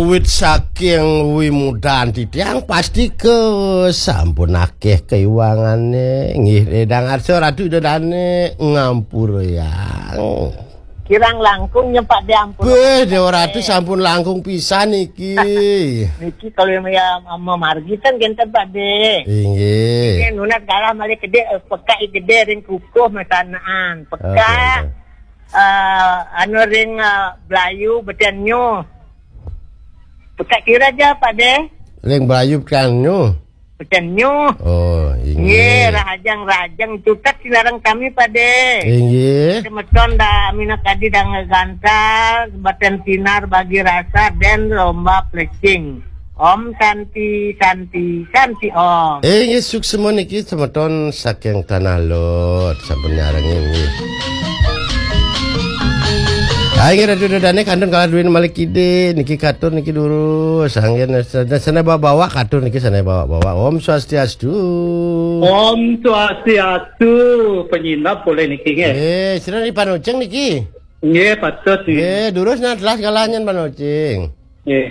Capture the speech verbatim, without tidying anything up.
Wit saking wimudan titiang pasti ke sampun akeh kaiwangane. Nggih, Dang Arsa Ratu Ida Dane ngampurayang. Kirang langkung nya, Pak De, ampun. Beh, Dewa Ratu sampun langkung pisan niki. Niki kalau yang ya mamargi kan genten, Pak De. Inggih. Ini nunas galah malih gede, eh, pekak gede ring kukuh mesanaan. Pekak, eh, anu ring, eh, Blayu beten nyuh. Pekak kira aja, Pak De. Ring Blayu beten nyuh. Beten nyuh. Oh, inggih. Nggih, rahajeng-rahajeng cutet sinareng sami, Pak De. Inggih. Semeton da minakadi dang gantal, beten sinar bagi rasa, den lomba plecing. Om Santi, Santi, Santi Om. Inggih, suksma niki semeton saking Tanah Lot, sampun nyarengin nggih. Ah, inggih, Ratu Ida Dane kantun kalah duwin malih kide, niki katur niki durus, anggen sana, sana bawa-bawa katur niki sana bawa-bawa. Om Swastiastu. Om Swastiastu, penyinap boleh niki nggih. Eh, sira di Panoceng niki. Nggih, patut nggih. Eh, durus nah telas kalahan nyen Panoceng. Nggih.